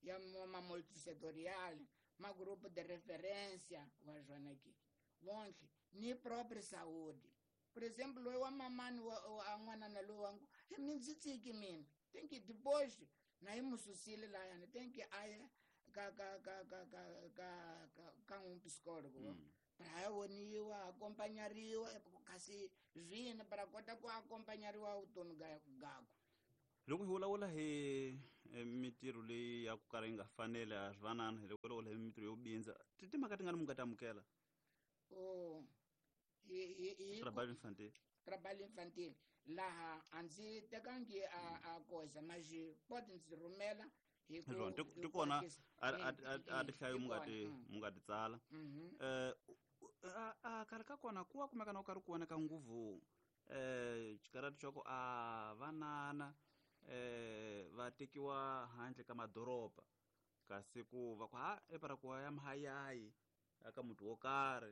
Speaker 5: ya ma multisectorial ma grupo de referência wa swona ke vonke ni própria saúde. Por exemplo loyi wa mamani wa n'wanana loyi wa ngu mi ndzi tsiki mina tem que depois na hi mu susile lahayani tem que a ya ka ka ka ka ka ka ka ka um psicólogo para ya voniwa acompanhariwa kasi zvini para kota ku acompanhariwa vutomi gakwe.
Speaker 1: Loko hi vulavula hi mitirho leyi ya ku kala yi nga faneli a swi vanana hi loko vulavula hi mitirho yo bindza ti timhaka ti nga ni mu nga ta amukela
Speaker 5: o hi hi
Speaker 1: trabalho infantil
Speaker 5: trabalho infantil laha a ndzi tekangi a a koza mas pode ndzi rhumela hi ku
Speaker 1: ti kona a tihlayo mu nga ti mu nga ti tsala eh a karhi ka kona ku wa kumeka na ku karhi ku voneka nguvu eh xikarati xa ku a vanana eh va tekiwa handle ka madoroba kasi ku va ku ha epara ku ya mahayayi aka muti wo karhi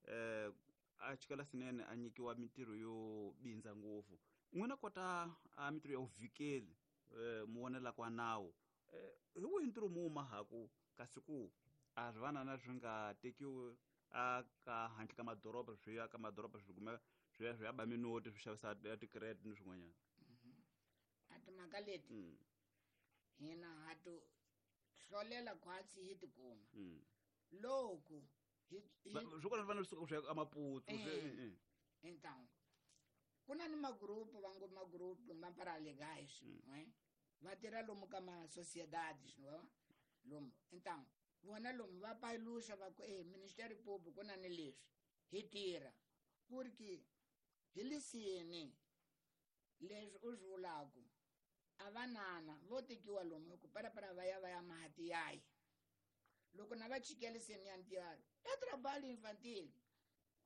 Speaker 1: eh a chikela swinene a nyikiwa mitirho yo bindza ngopfu n'wina kota a mitirho ya vuvikeli eh mu vonela kwa nawu eh hi wihi ntirho mu mahaku kasi ku a swi vanana swi nga tekiwi a ka handle ka madoroba swi ya ka madoroba swi kumeka swi ya swi ya ba minoti swi xavisa ti-credit ni swin'wanyana.
Speaker 5: A timhaka leti hina ha to hlolela khwatsi hi tikuma loko
Speaker 1: swi kona fanele swi suka swi ya Maputo
Speaker 5: então ku na ni magrupu va ngo magrupu ma paralegais va tirha lomu ka ma sociedades lomu então vona lomu va paluxa va ku e Ministério Público ku na ni leswi hi tirha porque hi lisini leswi u swi vulaku a vanana vo tekiwa lomu hi ku parapara va ya va ya mahatiyayi loko na va chikeliseni ya ntirho i trabalho infantil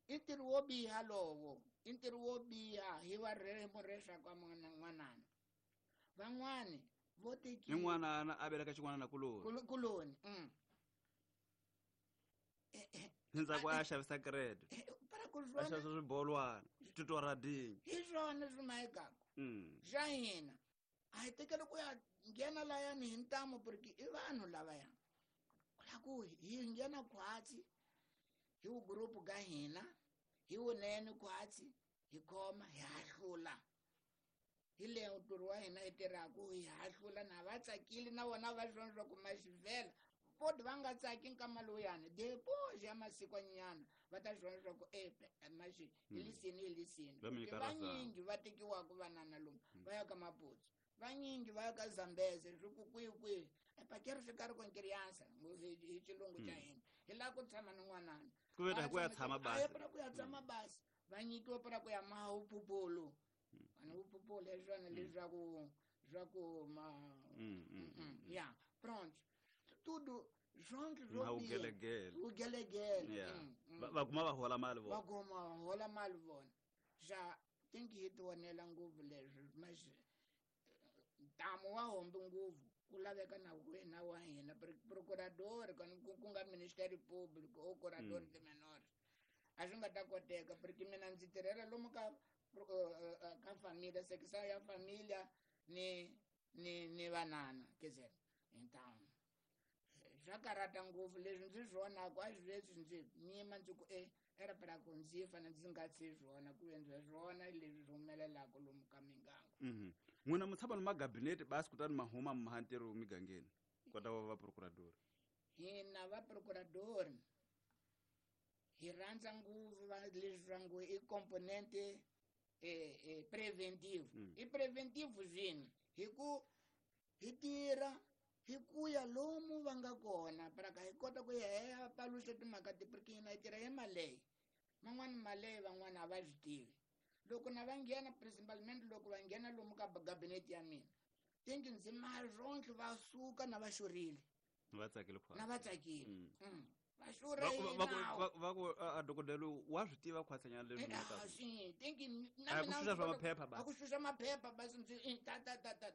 Speaker 5: i ntirho wo biha lowo i ntirho wo biha hi wa murexa ka n'wanana van'wani vo tekiwa
Speaker 1: ni n'wanana a veleka xin'wanana kuloni
Speaker 5: kuloni
Speaker 1: endzhaku a xavisa credit a xavisa swibolwana titoradini
Speaker 5: hi swona swi mahekaka xa hina a hi tekeli ku ya nghena layani hi ntamu porque i vanhu lavaya ku la ku hi nghena khwatsi Hi wu group ga hina hi wunene khwatsi hi khoma hi hahlula hi le ntirho wa hina hi tirhaku hi hahlula na va tsakile na vona va swi vona swa ku maxivhela poti va nga tsaki nkama lowuyani depois ya masikwanyana va ta swi vona swa ku e maxi hi lisini hi lisini
Speaker 1: Va mi nyika
Speaker 5: vanyingi va tekiwaka vanana lomu va ya ka Maputsu vanyingi va ya ka Zambeze swi ku kwihi kwihi pakeri swi karhi com criança hi hi xilungu xa hina hi lava ku tshama ni n'wanana
Speaker 1: Ku ve ku ya tshama basi.
Speaker 5: a para ku ya tshama basi va nyikiwa para ku ya maha uphuphulu ani uphuphulu hi swona leswaku swa ku ma
Speaker 1: Mm, mm, mm,
Speaker 5: ya pronto tudo zonke
Speaker 1: Ma ugelegele.
Speaker 5: ugelegele
Speaker 1: Yeah.
Speaker 5: Mm, mm.
Speaker 1: Va va kuma va hola mali
Speaker 5: va
Speaker 1: vona.
Speaker 5: kuma va hola mali vona xa tinki hi tionela ngopfu leswi mas ntamu wa hombi ngopfu ku laveka na wena wa hina procurador ku ku nga Ministério Público ou curador de menores a swi nga ta koteka porque mina ndzi tirhela lomu ka eh, eh, ka família secção ya família ni ni ni vanana quer dizer então swa karhata ngopfu leswi ndzi swi vonaku a swi leswi ndzi nyima ndzi ku e era para ku ndzi fane ndzi nga tshi swona ku endla swona leswi swi humelelaka lomu ka miganga.
Speaker 1: Mhm. N'wina mi tshama ni magabinete basi kutani ma huma mi maha ntirho migangeni. Kota va va procurador.
Speaker 5: Hina va procurador hi rhandza ngopfu va leswi swa ngo i componente eh, eh, preventive.
Speaker 1: Mm.
Speaker 5: I preventive swini hi ku hi tirha hi ku ya lomu va nga kona para ka hi kota ku ya hi ya paluxa timhaka ti porque hina hi tirha hi maleyi man'wani maleyi van'wani a va swi tivi loko na va nghena principalmente loko va nghena lomu ka gabinete ya mina tinki ndzi mazonke va suka na va xurile
Speaker 1: Va tsakile khwatsi.
Speaker 5: na va tsakile.
Speaker 1: Mm.
Speaker 5: Mm. Va xurha
Speaker 1: Va
Speaker 5: hi
Speaker 1: ku va ku
Speaker 5: nawu.
Speaker 1: va va ku a a dokodela wa swi tiva khwatsanyana leswi
Speaker 5: Eh,
Speaker 1: mi
Speaker 5: ah,
Speaker 1: nga ta.
Speaker 5: swi tinki na
Speaker 1: A ku
Speaker 5: mina
Speaker 1: xuxa
Speaker 5: ndzi
Speaker 1: swa
Speaker 5: kota-
Speaker 1: maphepha basi.
Speaker 5: a ku xuxa maphepha basi ndzi eh, ta ta ta ta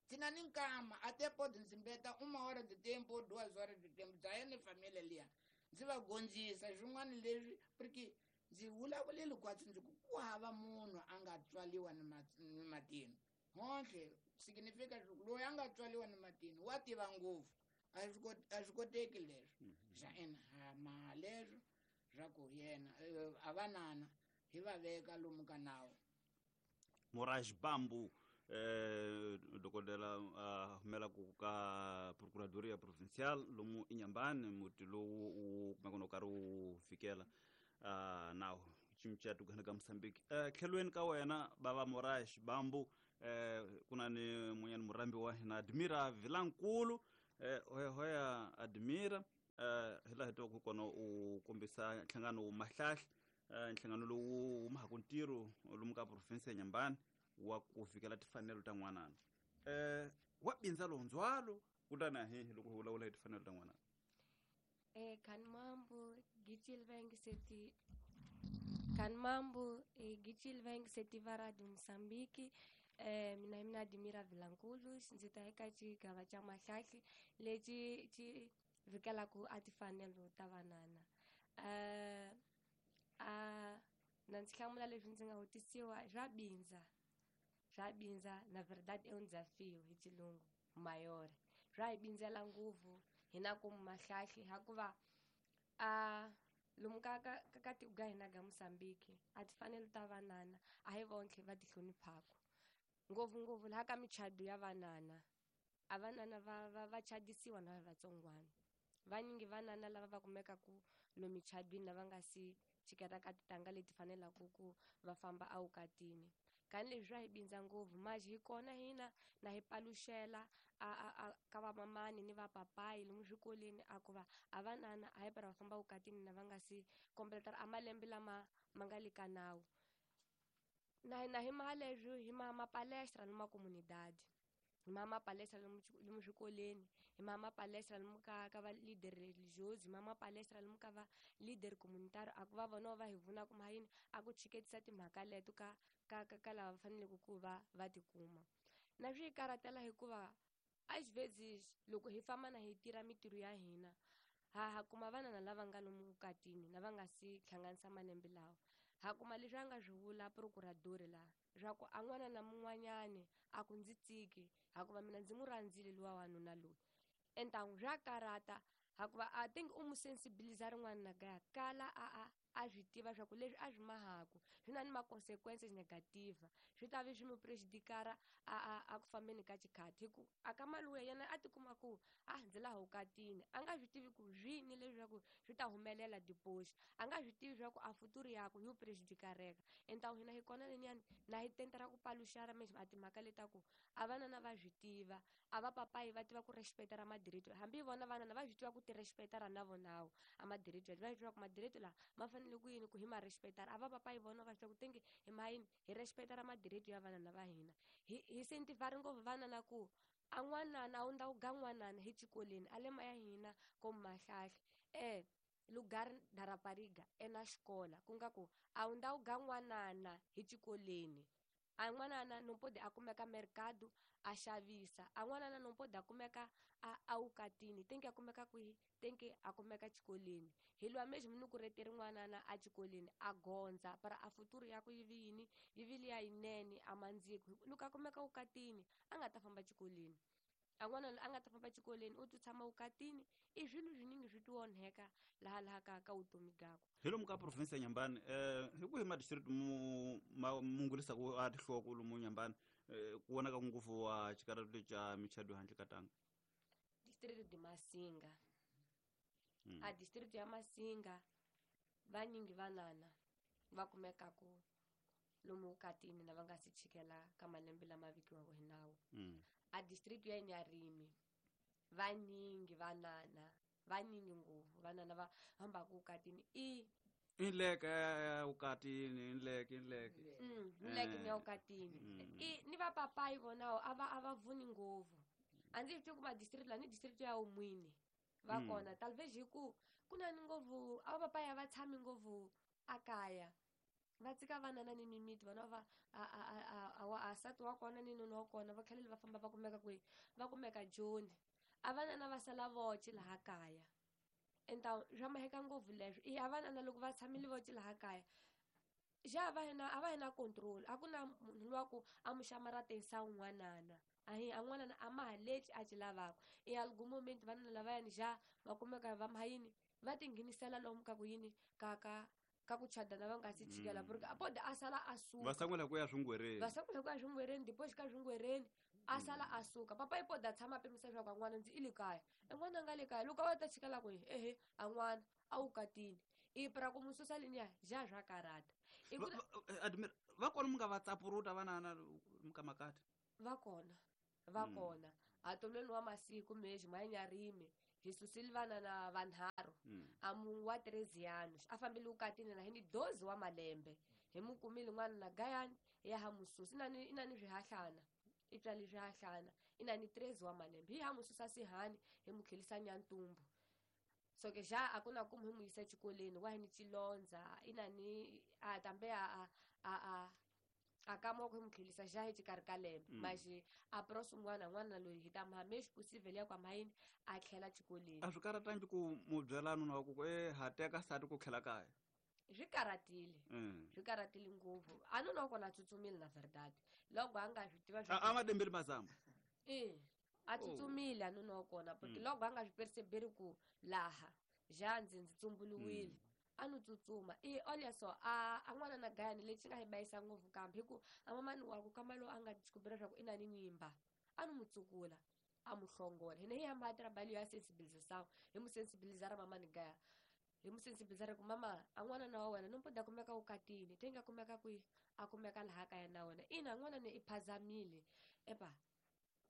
Speaker 5: ndzi na ni nkama até pode ndzi mbeta uma hora de tempo ou duas horas de tempo bya yena ni família liya ndzi va gondzisa swin'wana leswi porque ndzi vulavuleli kwatsi ndzi ku ku hava munhu a nga tswaliwa ni mat- ni matino honhle significa swa loyi a nga tswaliwa ni matino wa tiva ngopfu a swi kot- a swi koteki leswo xa ina ha maha leswo swa ku yena eh, a vanana hi va veka lomu ka nawu.
Speaker 1: Moraj Bambu eh dokodela a humela ku ka Procuradoria Provincial lomu Inhambane muti lowu wu kumeka no karhi wu fikela ah nawu cinca tukana ka Mozambique. Eh tlhelweni ka wena bava Moraj Bambu eh kuna ni munyani murambi wa hina Admira Vilankulu eh hoya hoya Admira eh hi laha hi twaka kona u kombisa nhlangano wu Mahlahla eh nhlangano lowu wu mahaka ntirho lomu ka province ya Inhambane wa ku fikela timfanelo ta n'wanana. Eh wa bindza lowu ndzhwalo kutani a hi loko hi vulavula hi timfanelo ta n'wanana.
Speaker 6: Eh, Kanmambu Gichil Seti Kanmambu eh, Gichil Veng Seti va de Moçambique eh, mina mina Admira Vilankulu ndzi ta eka xigava xa Mahlahli lexi xi vikelaka a timfanelo ta vanana. Eh, a na ndzi hlamula leswi ndzi nga vutisiwa swa bindza swa bindza na verdade é um desafio hi xilungu mayore swa hi bindzela ngopfu hina ku Mahlahli hikuva a lomu ka ka ka ka tiko ka hina ka Mozambique a timfanelo ta vanana a hi vonke va ti hloniphaka ngopfungopfu laha ka michado ya vanana a vanana va va va chadisiwa na vatsongwana vanyingi vanana lava va kumekaku lomu michadwini lava nga si chiketa ka titanga leti fanelaka ku va famba evukatini kani leswi swa hi bindza ngopfu manje hi kona hina na hi paluxela a a a ka vamamani ni vapapayi lomu swikolweni a ku va a vanana a hi para va famba evukatini na va nga si kompletara a malembe lama ma nga le ka nawu na na hi maha leswi hi maha mapalestra lomu makomunidade hi maha mapalestra lomu lomu swikolweni hi maha mapalestra lomu ka ka va leader religioso hi maha mapalestra lomu ka va leader communitario a ku va vona va hi pfunaka mhaka yini a ku chiketisa timhaka leto ka ka ka ka lava va faneleke ku va va tikuma na swi hi karhatela hikuva às vezes loko hi famba na hi tirha mintirho ya hina ha ha kuma vanana lava nga lomu vukatini lava nga si hlanganisa malembe lawa ha kuma leswi a nga swi vula procurador laha swa ku a n'wana na mun'wanyani a ku ndzi tiki hikuva mina ndzi n'wi rhandzile luwa wanuna loyi entangu swa karhata Hakuva I think u mu sensibiliza rin'wana na gaya kala a a a swi tiva swa ku leswi a swi mahaku swi na ni ma-consequences negative swi ta vi swi mu prejudikara a a a ku fambeni ka xikhati hi ku a ka maluya yena a tikuma ku a ndzi laha vukatini a nga swi tivi ku swini leswaku swi ta humelela dipoxi a nga swi tivi swa ku a futuri yaku yi prejudikareka entawu hina hi kona leniyani na hi tentera ku paluxara meshe a timhaka leta ku a vanana va swi tiva a va papayi va tiva ku respecta ra madirito hambi vona vanana va swi tiva ku ti respecta ra na vonawo a madirito va swi tiva ku madirito la ma fanele ku yini ku hi ma respecta a va papayi vona va swi tiva ku tenge hi ma yini hi respecta ra madirito ya vanana va hina hi hi sentivari ngopfu vanana ku a n'wanana a wu ndza wu ga n'wanana hi xikolweni a le ma ya hina ko mahlahle eh lugar da rapariga ena xikola ku nga ku a wu ndza wu ga n'wanana hi xikolweni a n'wanana no pode a kumeka mercado a xavisa a n'wanana no pode a kumeka a a wukatini tenke a kumeka kwihi tenke a kumeka xikolweni hi lwa mexi munhu ku reteri n'wanana a xikolweni a gondza para a futuru ya ku yi vi yini yi vi liya yinene a mandziko loko a kumeka wukatini a nga ta famba xikolweni a n'wana a nga ta famba xikolweni u ti tshama wukatini i swilo swiningi swi ti onheka laha laha ka ka vutomi byakwe
Speaker 1: hi lomu ka province ya Nyambani eh hi ku hi ma district mu ma mungulisa ku a tihloko lomu Nyambani eh, ku vonaka ngopfu wa xikarhato xa michado handle ka tanga
Speaker 6: district de Masinga
Speaker 1: Mm.
Speaker 6: a district ya Masinga vanyingi vanana va kumeka ku lomu vukatini na va nga si chikela ka malembe lama vikiwaka hi nawu
Speaker 1: Mm.
Speaker 6: a district ya Nyarimi vanyingi vanana vanyingi ngopfu vanana va hambaka vukatini i
Speaker 1: Inleke ya vukatini inleke inleke
Speaker 6: mm, nleke ni ya vukatini
Speaker 1: Mm.
Speaker 6: i ni vapapayi vonawo a va a va vuni ngopfu a ndzi swi tivi ku ma district la ni district ya Umwini va
Speaker 1: Mm.
Speaker 6: kona talvez hi ku ku na ni ngopfu a vapapayi a va tshami ngopfu a kaya va tshika vanana ni mimiti vona va a a a a a wa a nsati wa kona ni nuna wa kona va tlhelele va famba va kumeka kwihi va kumeka Joni a vanana va sala voce laha kaya enta swa maheka ngopfu leswo i a vanana loko va tshamile voce laha kaya xa a va hina a va hina control a ku na munhu luwa ku a mu xamaratisa un'wanana a hi a n'wanana a ma ha lexi a xi lavaka i algum moment vanana lavayani xa va kumeka va ma yini va tinghenisela lomu ka ku yini ka ka ka ku chadana va nga si chikela
Speaker 1: Mm.
Speaker 6: porque a pode a sala a suka
Speaker 1: va sangula ku ya swingwereni
Speaker 6: va sangula ku ya swingwereni depois ka swingwereni a sala a suka papa i pode a tshama a pimisa leswaku a n'wana ndzi i le kaya e n'wana a nga le kaya loko a va ta chikela kwihi ehe a n'wana a wu katini i pra ku mu susa leniya ja swa karata i ku
Speaker 1: Va- va- eh, admir va kona mi nga va tsapuruta vanana muka makati
Speaker 6: va kona va
Speaker 1: Mm.
Speaker 6: kona hatomleni wa masiku mexi ma Nyarimi hi susile vanana vanharhu
Speaker 1: Mm.
Speaker 6: a munhu wa treze anos a fambile vukatini na hi ni doze wa malembe hi mu kumile n'wana na gayani ya ha mususa i na ni i na ni swihahlana i tswale swihahlana i na ni treze wa malembe hi ha mususa sihani hi mu tlhelisa nyantumbu so ke xa a ku na ku mu hi mu yisa exikolweni wa hi ni chilondza i na ni a tambe a a a a a kama ku hi mu tlhelisa xa hi xikarhi ka lembe
Speaker 1: Mm.
Speaker 6: maxi a prosi un'wana n'wana loyi hi ta muha mexi possible ya ku a yini a tlhela xikolweni
Speaker 1: a swi karatangi ku mu byela nuna wa ku ku e ha teka nsati ku tlhela kaya
Speaker 6: swi karatile
Speaker 1: Mm.
Speaker 6: swi karatile ngopfu a nuna wa kona a tsutsumile na verdade loko a nga swi tiva
Speaker 1: a a ma dembeli mazamba
Speaker 6: e a tsutsumile a nuna wa kona porque
Speaker 1: Mm.
Speaker 6: loko a nga swi perceberi ku laha ja ndzi ndzi tsumbuluwile a no tsutsuma i olha só a a n'wana na gayani lexi nga hi bayisa ngopfu kambe hi ku a mamani wa ku kama lowu a nga descobrir leswaku i na ni nyimba a no mu tsukula a mu hlongola hina hi hamba a trabalho ya sensibilização hi mu sensibilizara mamani gaya hi mu sensibilizara ku mama a n'wana na wa wena no mpode a kumeka vukatini te nga kumeka kwihi a kumeka laha kaya na wena ina n'wana ni i phazamile epa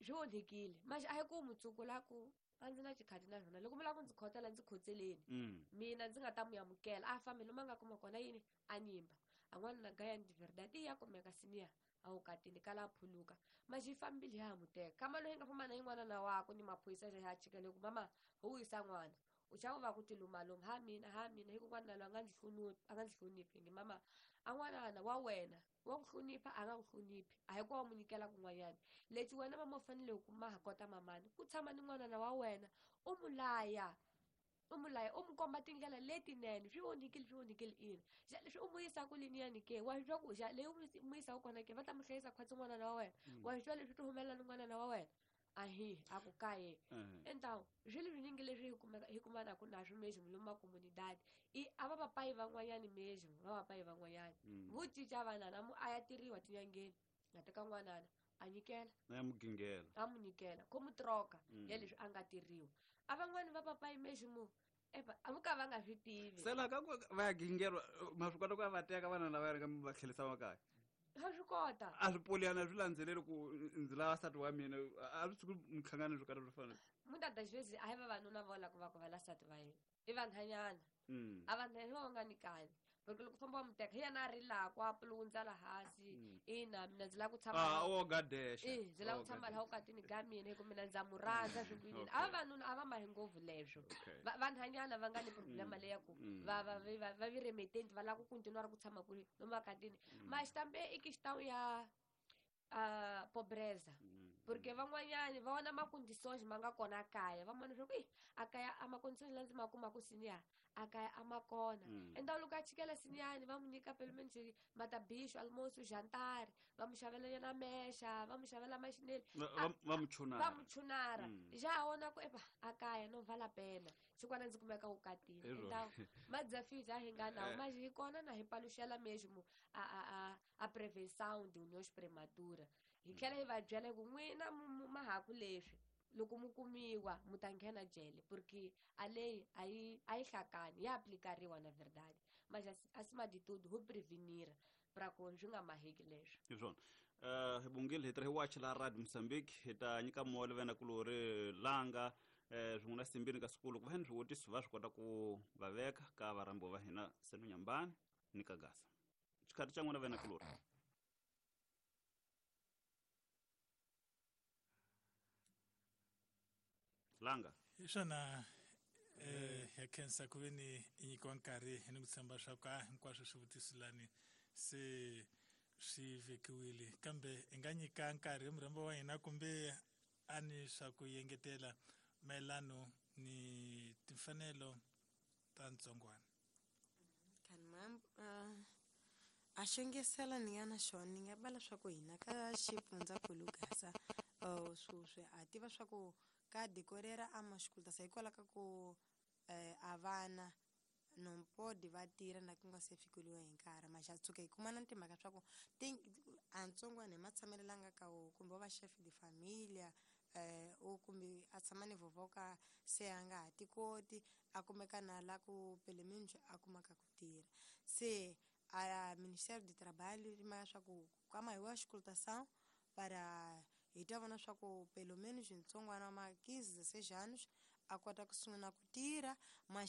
Speaker 6: swi onhekile manje a hi ku mu tsukula ku a ndzi na xikhati na swona loko mi lava ku ndzi khotela ndzi khotseleni
Speaker 1: Mm.
Speaker 6: mina ndzi nga ta mu amukela a fambi lomu a nga kuma kona yini a nyimba a n'wana na gayani de verdade i ya kumeka siniya a wukatini kala a phuluka manje yi fambile ya ha mu teka kama loyi nga famba na yin'wana na wakwe ni maphorisa ya chikele ku mama ho wisa n'wana u chava va ku tilumaluma ha mina ha mina hi ku n'wana loyi a nga ndzi hloniphi a nga ndzi hloniphi nge mama a n'wanana wa wena wa ku hlonipha a nga ku hloniphi a hi ku wa mu nyikela kun'wanyana lexi wena mama u fanele ku ma ha kota mamani ku tshama ni n'wanana wa wena u mu laya u mu laya u mu komba tindlela letinene swi onhikile swi onhikile ina xa leswi u mu yisaka leniyani ke wa swi twa ku xa leyi u mu yisaka kona ke va ta mu hlayisa khwatsi n'wanana wa wena
Speaker 1: Mm.
Speaker 6: wa swi twa leswi ti humelela ni n'wanana wa wena Ahi a ku kaye então swilo swinyingi leswi hi kumeka hi kumanaka naswo mesmo lomu comunidade i a va papai van'wanyani mesmo va papai van'wanyani vo cinca vanana mu a ya tirhiwa tinyangeni nga teka n'wanana a nyikela
Speaker 1: na mugingela
Speaker 6: a mu nyikela ko mu troka ya leswi a nga tirhiwa a van'wani va papai mesmo epa a mu ka va nga swi tivi
Speaker 1: sela ka ku va ya gingelwa ma swi kota ku va teka vana lava ri va tlhelisa makaya
Speaker 6: a swi kota
Speaker 1: a swi poliana swi landzeleli ku ndzi lava nsati wa mina a swi tshuki minhlangano swo karhi swo fana
Speaker 6: muta das vezes a hi vavanuna vo lava ku va ku va la nsati va yena i vanhanyana a vanhanyana va nga nikani porque loko famba wa mu teka hi yena a rilaka a pulundza la hansi ina mina ndzi lava ku tshama
Speaker 1: ah o gadexa
Speaker 6: eh ndzi lava ku tshama laha ukatini ka mina hi ku mina ndza mu rhandza swi ku yini a vavanuna a va mahi ngopfu leswo vanhanyana va nga ni problema leya ku va va va va viremetenti va lava ku continue ku tshama kuri lomu akatini mas também i questão ya a pobreza porque van'wanyani va vona macondições ma nga kona kaya va vona leswaku a kaya a macondições la ndzi ma kumaka siniya a kaya a ma kona então loko a chikela siniyani va mu nyika pelo menos matabicho almoço jantar va mu xavela yona mexa va mu xavela maxineli
Speaker 1: va mu chunara
Speaker 6: va mu chunara já vona ku epa a kaya no vala pena xikwana ndzi kumeka ukatini então ma desafios a hi nga nawo mas hi kona na hi paluxela mesmo a a a a prevenção de uniões prematura hi tlhela hi va byela ku n'wina mahaku leswi loko mu kumiwa mu ta nghena jele porque a lei a yi a yi hlakani ya aplicariwa na verdade mas acima de tudo ho prevenir para ku swi nga maheki leswi
Speaker 1: hi swona um hi bungile hi tirha hi wachi la Radio Mozambique hi ta nyika mole vena kulori langa um swin'we na simbini ka sikulu ku va ni swivutiso va swi kota ku va veka ka varhambiwa va hina Seno Nyambani ni ka Gasa xikhathi xa n'wina vena kulori Langa
Speaker 2: hi swona eh ya khensa ku ve ni i nyikiwa nkarhi hi ni ku tshemba swa ku a hinkwaswo swivutiso lani se swi vekiwile kambe hi nga nyika nkarhi murhambi wa hina kumbe a ni swa ku yengetela mayelano ni timfanelo ta ntsongwana
Speaker 4: kan mam a xongesela ni nga na xona ni nga bala swa ku hina ka xifundzankulu Gasa sweswi a tiva swa ku ka decorera a mashikulta hikwalaho ka ku eh, a vana non pode va tirha na ku nga se fikeliwa hi nkarhi maxa tshuka hi kuma na timhaka swa ku a ntsongwana hi matshamelo la nga ka wo kumbe wa va chef de familia eh, o kumbe a tshama ni vovoka se a nga ha tikoti a kumeka na la ku peleminjo a kumaka ku tirha se a Ministério do Trabalho ri maya swa ku kama hi wa auscultação para hi ta vona swa ku pelo menos ntsongwana wa ma quinze dezesseis anos a kota ku sungula ku tirha manxa